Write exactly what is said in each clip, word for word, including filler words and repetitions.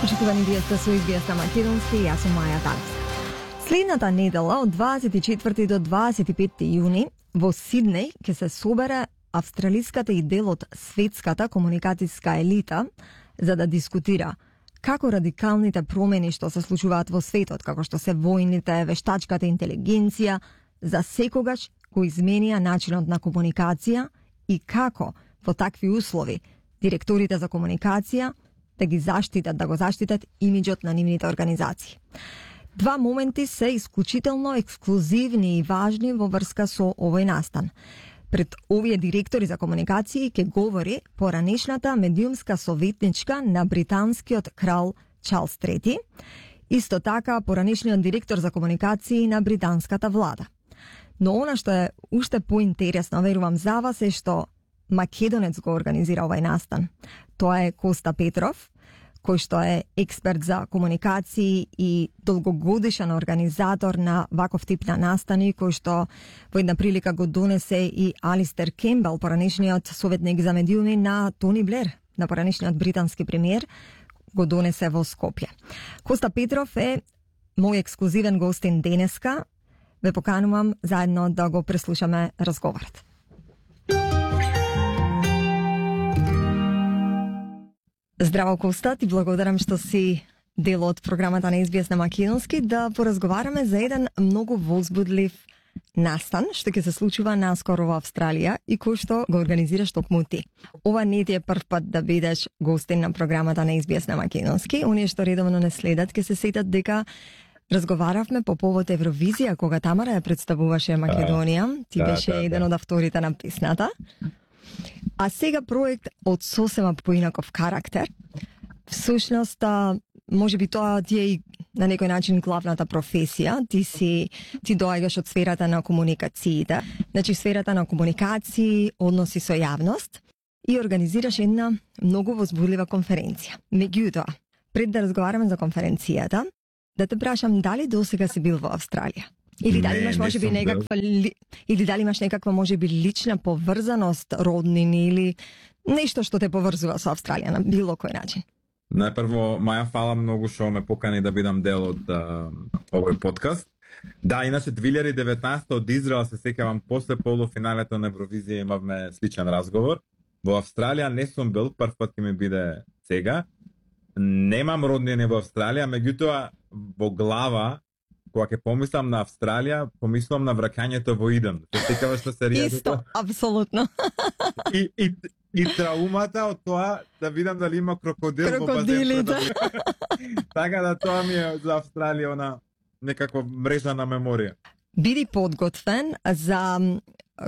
Почитувани виесте со Извиест на Македонски, јас сум Маја Таневска. Следната недела од дваесет и четврти до дваесет и петти јуни во Сиднеј ќе се собере австралиската и дел од светската комуникацијска елита за да дискутира како радикалните промени што се случуваат во светот, како што се војните, вештачката интелигенција, за секогаш го изменија начинот на комуникација и како во такви услови директорите за комуникација да ги заштитат, да го заштитат имиџот на нивните организации. Два моменти се исклучително ексклузивни и важни во врска со овој настан. Пред овие директори за комуникации ќе говори поранешната медиумска советничка на британскиот крал Чарлс трети, исто така поранешниот директор за комуникации на британската влада. Но она што е уште поинтересно, верувам за вас, е што македонец го организира овај настан. Тоа е Коста Петров, кој што е експерт за комуникации и долгогодишен организатор на ваков тип на настани, кој што во една прилика го донесе и Алистер Кембел, поранешниот советник за медиуми на Тони Блер, на поранешниот британски премиер, го донесе во Скопје. Коста Петров е мој ексклузивен гостин денеска. Ве поканувам заедно да го преслушаме разговорот. Здраво, Коста, ти благодарам што си дел од програмата на Извиест на Македонски да поразговараме за еден многу возбудлив настан што ќе се случува наскоро во Австралија и кој што го организираш токму ти. Ова не ти е прв пат да бидеш гостин на програмата на Извиест на Македонски. Оние што редовно не следат ќе се сетат дека разговаравме по повод Евровизија кога Тамара ја представуваше Македонија. Ти да, беше да, еден да. од авторите на песната. А сега проект од сосема поинаков карактер. Всушност, може би тоа ти е и на некој начин главната професија. Ти си ти доаѓаш од сферата на комуникациите, значи сферата на комуникации, односи со јавност и организираш една многу возбудлива конференција. Меѓутоа, пред да разговараме за конференцијата, да те прашам дали досега си бил во Австралија? Или дали Не, имаш не можеби сум некаква ли, или дали имаш некаква можеби лична поврзаност, роднини или нешто што те поврзува со Австралија на било кој начин? Најпрво, Маја, фала многу што ме покани да бидам дел од а, овој подкаст. Да, иначе две илјади и деветнаесета од Израел се сеќавам после полуфиналето на Евровизија имавме сличен разговор. Во Австралија не сум бил, прв пат ќе ми биде сега. Немам роднини во Австралија, меѓутоа во глава кога ќе помислам на Австралија, помислам на враќањето во Иден. Се сеќаваш на серијата? Исто, апсолутно. И, и, и траумата од тоа да видам дали има крокодил во Крокодили, базен. да. Така да тоа ми е за Австралија она некаква мрежа на меморија. Биди подготвен за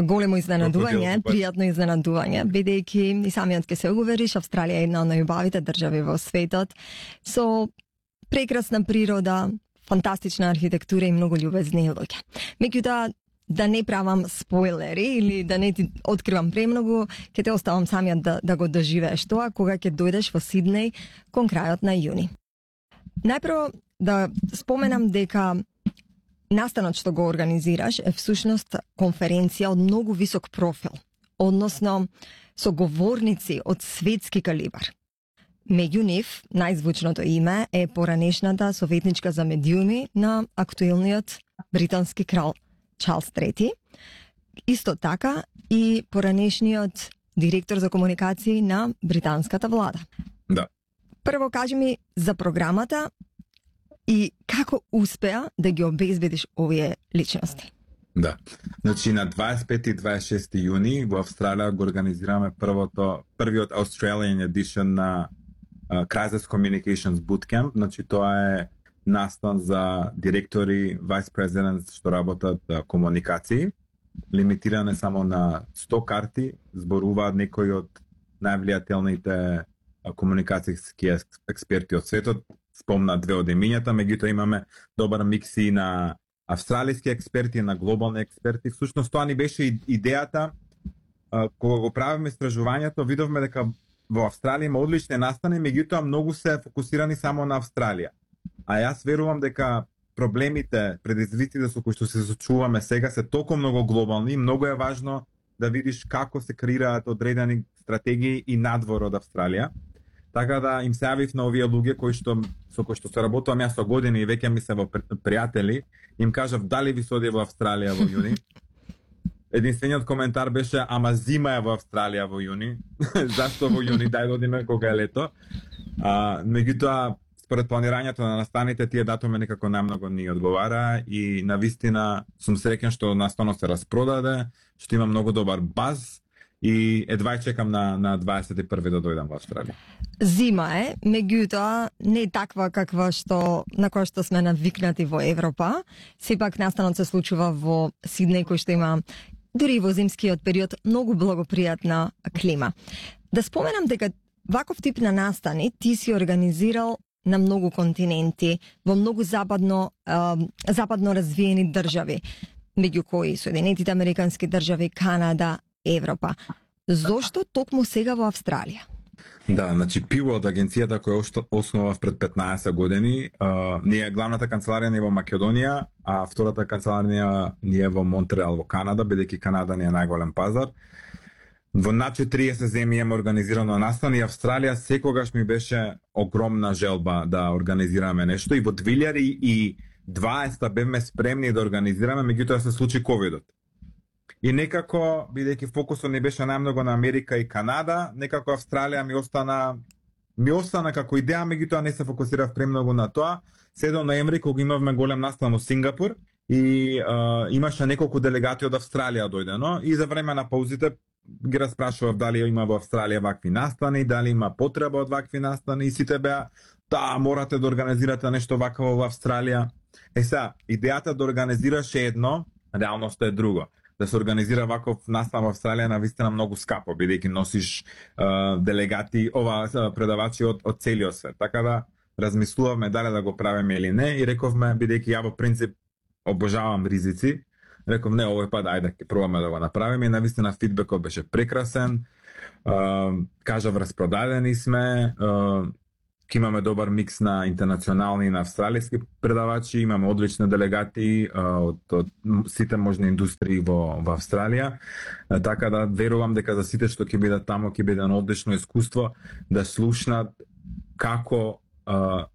големо изненадување, Крокодил, пријатно изненадување, бидејќи и самиот ќе се увериш, Австралија е една од најубавите држави во светот, со прекрасна природа, фантастична архитектура и многу љубезни луѓе. Меѓутоа, да не правам спойлери или да не ти откривам премногу, ќе те оставам самиот да, да го доживееш тоа кога ќе дојдеш во Сиднеј кон крајот на јуни. Најпрво да споменам дека настанот што го организираш е всушност конференција од многу висок профил, односно со говорници од светски калибар. Меѓу нив, најзвучното име е поранешната советничка за медиуми на актуелниот британски крал Чарлс трети, исто така и поранешниот директор за комуникации на британската влада. Да. Прво кажи ми за програмата и како успеа да ги обезбедиш овие личности. Да. Значи на дваесет пети и дваесет и шести јуни во Австралија го организираме првото првиот Australian edition на uh, Crisis Communications Bootcamp. Значи тоа е настан за директори, vice presidents што работат uh, комуникации. Лимитиране само на сто карти, зборуваат некои од највлијателните uh, комуникацијски експерти од светот. Спомна две од имињата, меѓутоа имаме добар микс и на австралиски експерти, на глобални експерти. Всушност тоа ни беше идејата uh, кога го правиме истражувањето, видовме дека во Австралија има одлични настани, меѓутоа многу се фокусирани само на Австралија. А јас верувам дека проблемите, предизвиците со кои што се соочуваме сега се толку многу глобални и многу е важно да видиш како се креираат одредени стратегии и надвор од Австралија. Така да им се јавив на овие луѓе кои што со кои што се работувам јас со години и веќе ми се во пријатели, им кажав дали ви се оди во Австралија во јуни. Единствениот коментар беше ама зима е во Австралија во јуни. Зашто во јуни, дај да одиме кога е лето. А, меѓутоа според планирањето на настаните тие датуми некако најмногу ни одговара и навистина сум среќен што настано се распродаде, што има многу добар баз и едва чекам на на дваесет и први да дојдам во Австралија. Зима е, меѓутоа не е таква каква што на која што сме навикнати во Европа. Сепак настанот се случува во Сиднеј кој што има дури во зимскиот период многу благопријатна клима. Да споменам дека ваков тип на настани ти си организирал на многу континенти, во многу западно, е, западно развиени држави, меѓу кои Соединетите Американски држави, Канада, Европа. Зошто токму сега во Австралија? Да, значи Пиво од агенцијата која основав пред петнаесет години, а, ние главната канцеларија ни е во Македонија, а втората канцеларија ни е во Монтреал во Канада, бидејќи Канада ни е најголем пазар. Во над четириесет земји имаме организирано настани и Австралија секогаш ми беше огромна желба да организираме нешто и во две илјади и дваесета бевме спремни да организираме, меѓутоа се случи ковидот. И некако, бидејќи фокусот ни беше најмногу на Америка и Канада, некако Австралија ми остана ми остана како идеја, меѓутоа не се фокусирав премногу на тоа. седмиот ноември кога имавме голем настан во Сингапур и а, имаше неколку делегати од Австралија дојдено и за време на паузите ги распрашував дали има во Австралија вакви настани, дали има потреба од вакви настани и сите беа да, морате да организирате нешто вакво во Австралија. Е сега, идејата да организираш е едно, реалноста е друго. Да се организира ваков настан во Австралија навистина многу скапо, бидејќи носиш uh, делегати, ова предавачи од, од целиот свет. Така да размислувавме дали да го правиме или не и рековме, бидејќи ја во принцип обожавам ризици, реков не, овој пат ајде ќе пробаме да го направиме и навистина фидбекот беше прекрасен. Uh, кажав, распродадени сме, uh, ќе имаме добар микс на интернационални и на австралиски предавачи, имаме одлични делегати uh, од, од сите можни индустрии во, во Австралија, uh, така да верувам дека за сите што ќе бидат тамо ќе биде едно одлично искуство да слушнат како uh,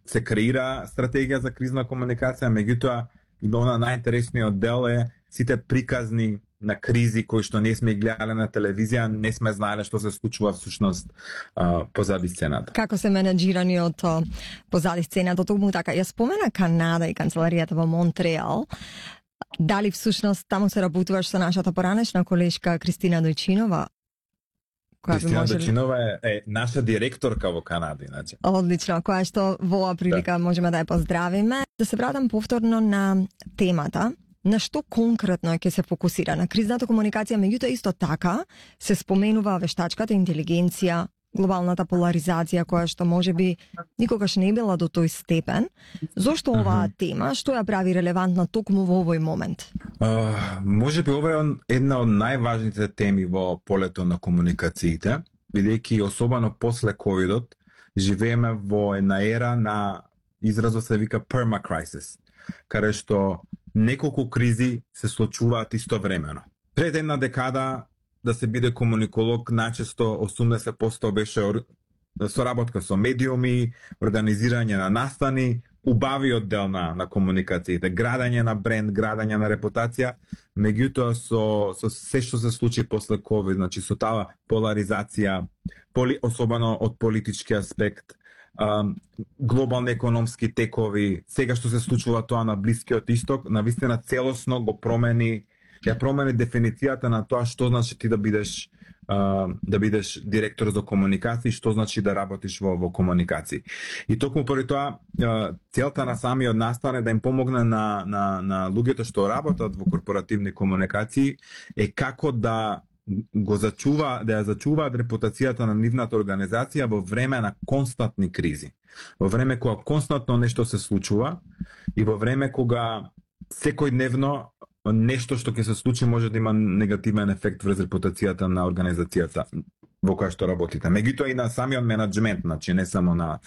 се креира стратегија за кризна комуникација, меѓутоа и она најинтересниот дел е сите приказни на кризи кои што не сме гледале на телевизија, не сме знаеле што се случува всушност uh, позади сцената. Како се менеджирани од позади сцената, токму така. Ја спомена Канада и канцеларијата во Монтреал. Дали всушност таму се работуваш со нашата поранешна колешка Кристина Дојчинова? Кристина можели... Дојчинова е, е наша директорка во Канада, иначе. Одлично, која што во оваа прилика да. можеме да ја поздравиме. Да се вратам повторно на темата. На што конкретно ќе се фокусира? На кризната комуникација, меѓутоа исто така се споменува вештачката интелигенција, глобалната поларизација која што можеби никогаш не била до тој степен. Зошто оваа uh-huh. тема, што ја прави релевантна токму во овој момент? Uh, можеби ова е една од најважните теми во полето на комуникациите, бидејќи особено после ковидот живееме во една ера на изразот се вика permacrisis, каде што неколку кризи се случуваат истовремено. Пред една декада да се биде комуниколог најчесто осумдесет проценти беше соработка со медиуми, организирање на настани, убавиот дел на, на комуникациите, градење на бренд, градење на репутација, меѓутоа со, со се што се случи после ковид, значи со таа поларизација, поли, особено од политички аспект, Um, глобални економски текови, сега што се случува тоа на Блискиот Исток, навистина целосно го промени, ја промени дефиницијата на тоа што значи ти да бидеш uh, да бидеш директор за комуникација, што значи да работиш во, во комуникација. И токму поради тоа uh, целта на самиот настан е да им помогне на, на, на луѓето што работат во корпоративни комуникации е како да го зачува, да ја зачуваат репутацијата на нивната организација во време на константни кризи. Во време кога константно нешто се случува и во време кога секојдневно нешто што ќе се случи може да има негативен ефект врз репутацијата на организацијата во која што работите. Меѓутоа и на самиот менаџмент, значи не само на,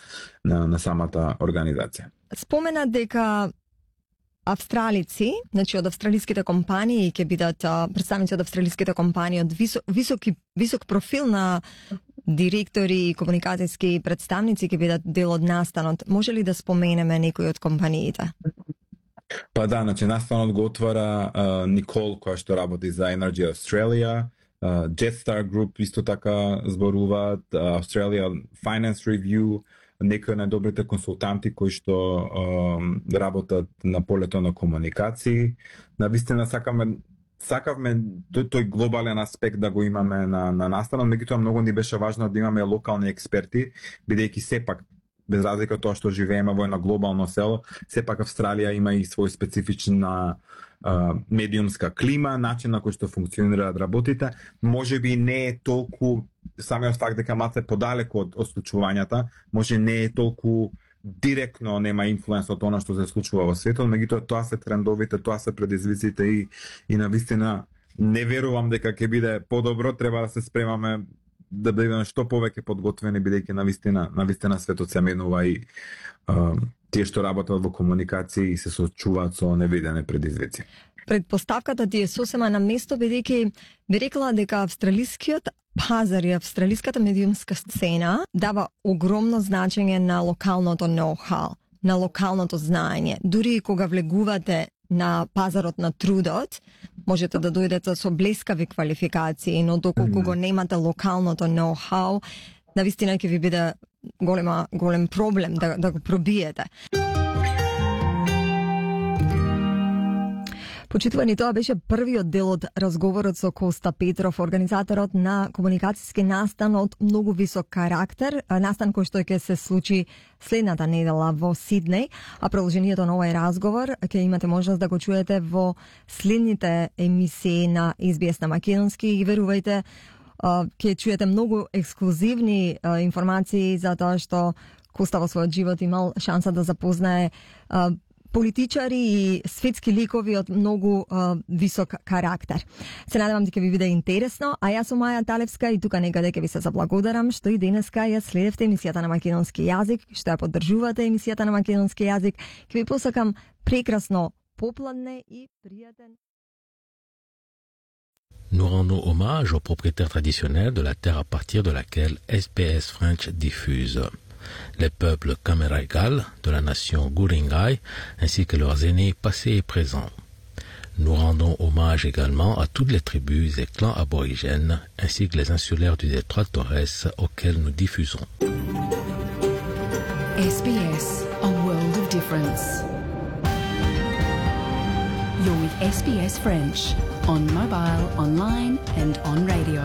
на, на самата организација. Спомена дека австралици, значи од австралиските компании ќе бидат представници од австралиските компании од висок, високи, висок профил на директори и комуникацијски представници ќе бидат дел од настанот. Може ли да споменеме некои од компаниите? Па да, значи настанот го отвара uh, Никол, која што работи за Energy Australia, uh, Jetstar Group исто така зборуваат, uh, Australia Finance Review, некои најдобрите консултанти кои што uh, работат на полето на комуникации. Навистина сакаме сакавме тој, тој глобален аспект да го имаме на, на настанот, меѓутоа многу ни беше важно да имаме локални експерти, бидејќи сепак без разлика од тоа што живееме во едно глобално село, сепак Австралија има и свој специфична а, медиумска клима, начин на кој што функционираат работите. Може би не е толку самиот факт дека малце подалеку од, од случувањата, може не е толку директно нема инфлуенс од она што се случува во светот, меѓутоа тоа се трендовите, тоа се предизвиците и и навистина не верувам дека ќе биде подобро, треба да се спремаме да бидеме што повеќе подготвени, бидејќи навистина навистина светот се менува и а, тие што работат во комуникација и се соочуваат со невидени предизвици. Предпоставката ти е сосема на место, бидејќи би рекла дека австралискиот пазар и австралиската медиумска сцена дава огромно значење на локалното ноу-хау, на локалното знаење. Дури и кога влегувате на пазарот на трудот, можете да дојдете со блескави квалификации, но доколку mm. го немате локалното ноу-хау, навистина ќе ви биде голема, голем проблем да, да го пробиете. Почитувани, тоа беше првиот дел од разговорот со Коста Петров, организаторот на комуникацијски настан од многу висок карактер, настан кој што ќе се случи следната недела во Сиднеј, а продолжението на овој разговор ќе имате можност да го чуете во следните емисии на Ес Би Ес на македонски и верувајте, ќе чуете многу ексклузивни информации за тоа што Коста во својот живот имал шанса да запознае политичари и светски ликови од многу uh, висок карактер. Се надевам дека ви биде интересно, а јас сум Маја Талевска и тука некаде ќе ви се заблагодарам што и денеска ја следевте емисијата на македонски јазик, што ја поддржувате емисијата на македонски јазик. Ќе ви посакам прекрасно попладне и пријатен. Nous rendons hommage aux propriétaires traditionnels de la terre à partir de laquelle S B S French diffuse. Les peuples Kameraigal de la nation Guringai ainsi que leurs aînés passés et présents. Nous rendons hommage également à toutes les tribus et clans aborigènes ainsi que les insulaires du détroit de Torres auxquels nous diffusons. S B S, a world of difference. You're with S B S French, on mobile, online and on radio.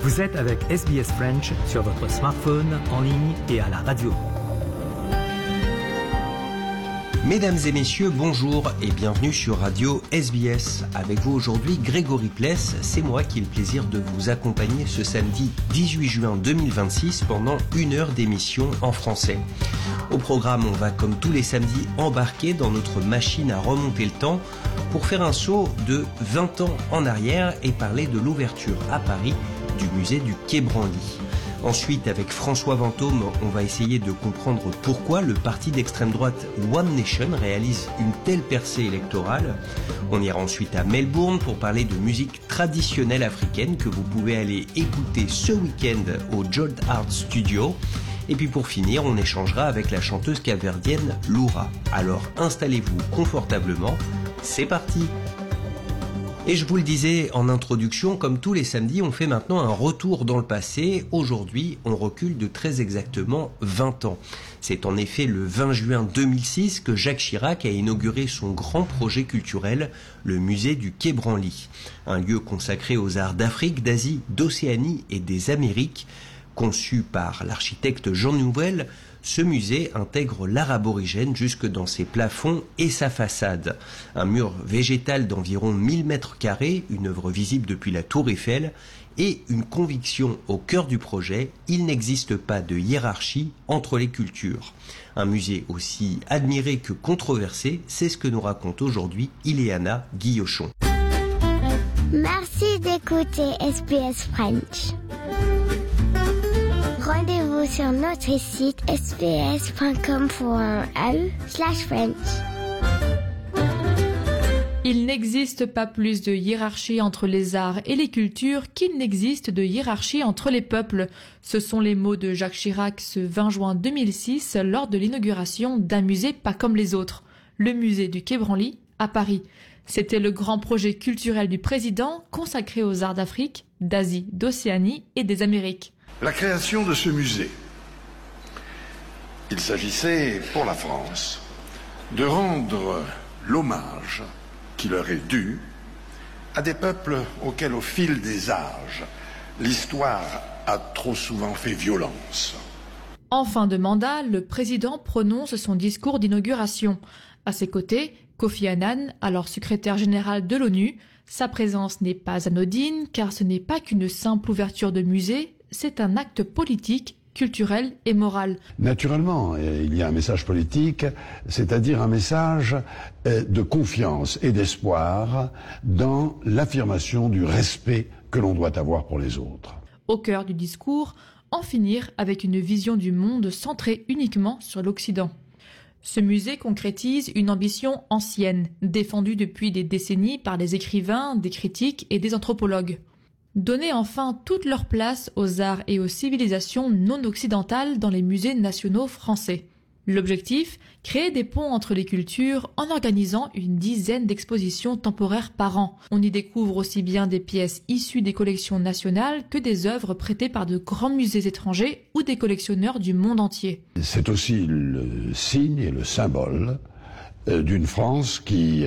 Vous êtes avec S B S French sur votre smartphone, en ligne et à la radio. Mesdames et messieurs, bonjour et bienvenue sur Radio S B S. Avec vous aujourd'hui, Grégory Pless. C'est moi qui ai le plaisir de vous accompagner ce samedi dix-huit juin deux mille vingt-six pendant une heure d'émission en français. Au programme, on va comme tous les samedis embarquer dans notre machine à remonter le temps pour faire un saut de vingt ans en arrière et parler de l'ouverture à Paris du musée du Quai Branly. Ensuite, avec François Vantôme, on va essayer de comprendre pourquoi le parti d'extrême droite One Nation réalise une telle percée électorale. On ira ensuite à Melbourne pour parler de musique traditionnelle africaine que vous pouvez aller écouter ce week-end au Jolt Art Studio. Et puis pour finir, on échangera avec la chanteuse capverdienne Loura. Alors installez-vous confortablement, c'est parti! Et je vous le disais en introduction, comme tous les samedis, on fait maintenant un retour dans le passé. Aujourd'hui, on recule de très exactement vingt ans. C'est en effet le vingt juin deux mille six que Jacques Chirac a inauguré son grand projet culturel, le musée du Quai Branly. Un lieu consacré aux arts d'Afrique, d'Asie, d'Océanie et des Amériques. Conçu par l'architecte Jean Nouvel, ce musée intègre l'art aborigène jusque dans ses plafonds et sa façade. Un mur végétal d'environ mille mètres carrés, une œuvre visible depuis la Tour Eiffel, et une conviction au cœur du projet, il n'existe pas de hiérarchie entre les cultures. Un musée aussi admiré que controversé, c'est ce que nous raconte aujourd'hui Ileana Guillochon. Merci d'écouter S B S French. Rendez-vous sur notre site s b s point com point a u slash French. Il n'existe pas plus de hiérarchie entre les arts et les cultures qu'il n'existe de hiérarchie entre les peuples. Ce sont les mots de Jacques Chirac ce vingt juin deux mille six lors de l'inauguration d'un musée pas comme les autres, le musée du Quai Branly à Paris. C'était le grand projet culturel du président consacré aux arts d'Afrique, d'Asie, d'Océanie et des Amériques. La création de ce musée. Il s'agissait pour la France de rendre l'hommage qui leur est dû à des peuples auxquels, au fil des âges, l'histoire a trop souvent fait violence. En fin de mandat, le président prononce son discours d'inauguration. À ses côtés, Kofi Annan, alors secrétaire général de l'ONU. Sa présence n'est pas anodine car ce n'est pas qu'une simple ouverture de musée, c'est un acte politique, culturel et moral. Naturellement, il y a un message politique, c'est-à-dire un message de confiance et d'espoir dans l'affirmation du respect que l'on doit avoir pour les autres. Au cœur du discours, en finir avec une vision du monde centrée uniquement sur l'Occident. Ce musée concrétise une ambition ancienne, défendue depuis des décennies par des écrivains, des critiques et des anthropologues. Donner enfin toute leur place aux arts et aux civilisations non occidentales dans les musées nationaux français. L'objectif, créer des ponts entre les cultures en organisant une dizaine d'expositions temporaires par an. On y découvre aussi bien des pièces issues des collections nationales que des œuvres prêtées par de grands musées étrangers ou des collectionneurs du monde entier. C'est aussi le signe et le symbole d'une France qui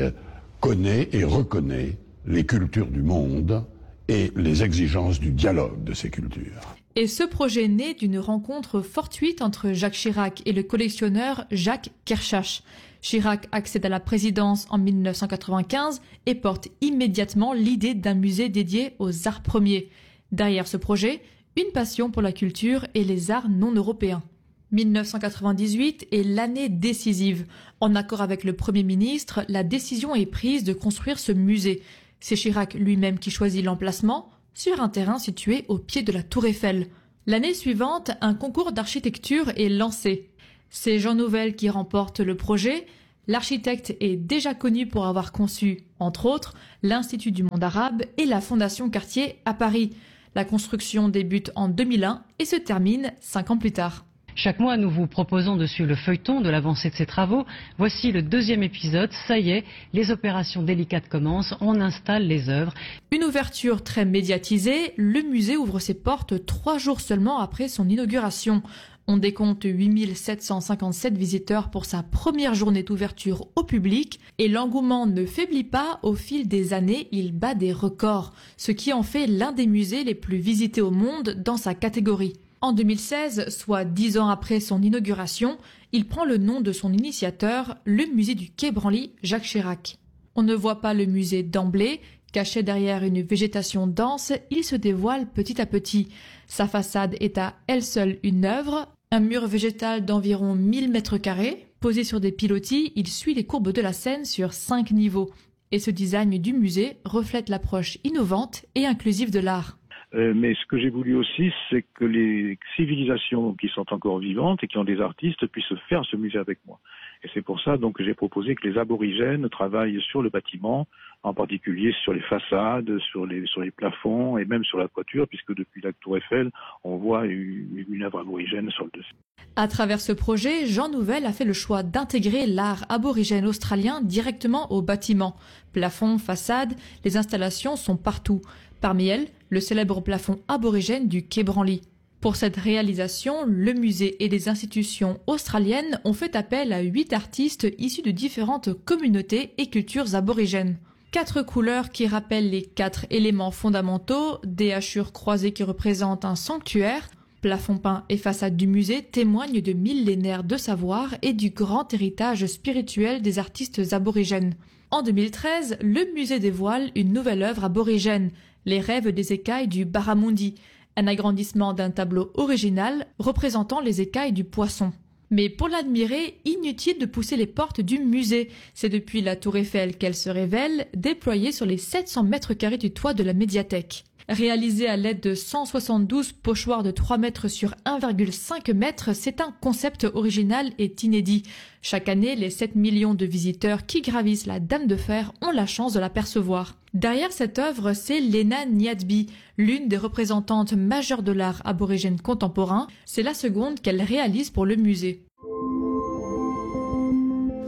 connaît et reconnaît les cultures du monde et les exigences du dialogue de ces cultures. Et ce projet naît d'une rencontre fortuite entre Jacques Chirac et le collectionneur Jacques Kershach. Chirac accède à la présidence en mille neuf cent quatre-vingt-quinze et porte immédiatement l'idée d'un musée dédié aux arts premiers. Derrière ce projet, une passion pour la culture et les arts non européens. mille neuf cent quatre-vingt-dix-huit est l'année décisive. En accord avec le Premier ministre, la décision est prise de construire ce musée. C'est Chirac lui-même qui choisit l'emplacement, sur un terrain situé au pied de la Tour Eiffel. L'année suivante, un concours d'architecture est lancé. C'est Jean Nouvel qui remporte le projet. L'architecte est déjà connu pour avoir conçu, entre autres, l'Institut du monde arabe et la Fondation Cartier à Paris. La construction débute en deux mille un et se termine cinq ans plus tard. Chaque mois, nous vous proposons de suivre le feuilleton de l'avancée de ces travaux. Voici le deuxième épisode. Ça y est, les opérations délicates commencent. On installe les œuvres. Une ouverture très médiatisée. Le musée ouvre ses portes trois jours seulement après son inauguration. On décompte huit mille sept cent cinquante-sept visiteurs pour sa première journée d'ouverture au public. Et l'engouement ne faiblit pas. Au fil des années, il bat des records, ce qui en fait l'un des musées les plus visités au monde dans sa catégorie. En deux mille seize, soit dix ans après son inauguration, il prend le nom de son initiateur, le musée du Quai Branly, Jacques Chirac. On ne voit pas le musée d'emblée, caché derrière une végétation dense, il se dévoile petit à petit. Sa façade est à elle seule une œuvre, un mur végétal d'environ mille mètres carrés. Posé sur des pilotis, il suit les courbes de la Seine sur cinq niveaux. Et ce design du musée reflète l'approche innovante et inclusive de l'art. Euh, mais ce que j'ai voulu aussi, c'est que les civilisations qui sont encore vivantes et qui ont des artistes puissent faire ce musée avec moi. Et c'est pour ça donc que j'ai proposé que les aborigènes travaillent sur le bâtiment, en particulier sur les façades, sur les, sur les plafonds et même sur la toiture, puisque depuis la Tour Eiffel, on voit une, une œuvre aborigène sur le dessus. À travers ce projet, Jean Nouvel a fait le choix d'intégrer l'art aborigène australien directement au bâtiment. Plafond, façade, les installations sont partout. Parmi elles, le célèbre plafond aborigène du Quai Branly. Pour cette réalisation, le musée et les institutions australiennes ont fait appel à huit artistes issus de différentes communautés et cultures aborigènes. Quatre couleurs qui rappellent les quatre éléments fondamentaux, des hachures croisées qui représentent un sanctuaire, plafond peint et façade du musée témoignent de millénaires de savoir et du grand héritage spirituel des artistes aborigènes. En deux mille treize, le musée dévoile une nouvelle œuvre aborigène, Les rêves des écailles du Barramundi, un agrandissement d'un tableau original représentant les écailles du poisson. Mais pour l'admirer, inutile de pousser les portes du musée. C'est depuis la Tour Eiffel qu'elle se révèle, déployée sur les sept cents mètres carrés du toit de la médiathèque. Réalisé à l'aide de cent soixante-douze pochoirs de trois mètres sur un virgule cinq mètres, c'est un concept original et inédit. Chaque année, les sept millions de visiteurs qui gravissent la Dame de Fer ont la chance de l'apercevoir. Derrière cette œuvre, c'est Lena Nyadbi, l'une des représentantes majeures de l'art aborigène contemporain. C'est la seconde qu'elle réalise pour le musée.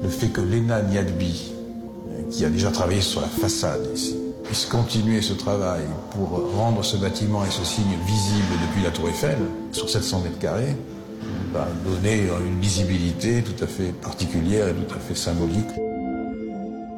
Le fait que Lena Nyadbi, qui a déjà travaillé sur la façade ici, puisse continuer ce travail pour rendre ce bâtiment et ce signe visible depuis la Tour Eiffel, sur sept cents mètres carrés, va donner une visibilité tout à fait particulière et tout à fait symbolique.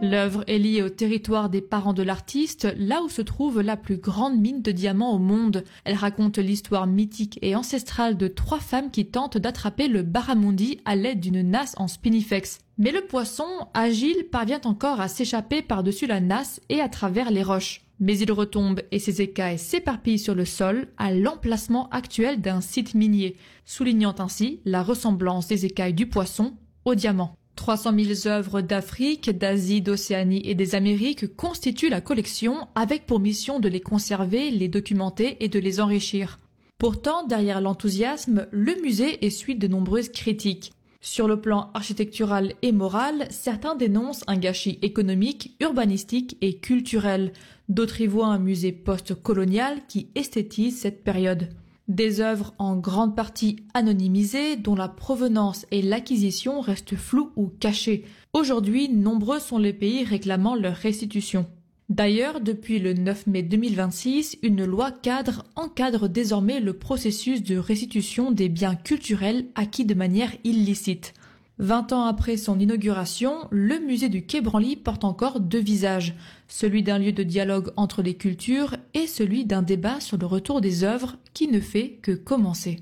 L'œuvre est liée au territoire des parents de l'artiste, là où se trouve la plus grande mine de diamants au monde. Elle raconte l'histoire mythique et ancestrale de trois femmes qui tentent d'attraper le barramundi à l'aide d'une nasse en spinifex. Mais le poisson, agile, parvient encore à s'échapper par-dessus la nasse et à travers les roches. Mais il retombe et ses écailles s'éparpillent sur le sol à l'emplacement actuel d'un site minier, soulignant ainsi la ressemblance des écailles du poisson au diamant. trois cent mille œuvres d'Afrique, d'Asie, d'Océanie et des Amériques constituent la collection avec pour mission de les conserver, les documenter et de les enrichir. Pourtant, derrière l'enthousiasme, le musée essuie de nombreuses critiques. Sur le plan architectural et moral, certains dénoncent un gâchis économique, urbanistique et culturel. D'autres y voient un musée post-colonial qui esthétise cette période. Des œuvres en grande partie anonymisées, dont la provenance et l'acquisition restent floues ou cachées. Aujourd'hui, nombreux sont les pays réclamant leur restitution. D'ailleurs, depuis le neuf mai deux mille vingt-six, une loi cadre encadre désormais le processus de restitution des biens culturels acquis de manière illicite. Vingt ans après son inauguration, le musée du Quai Branly porte encore deux visages, celui d'un lieu de dialogue entre les cultures et celui d'un débat sur le retour des œuvres qui ne fait que commencer.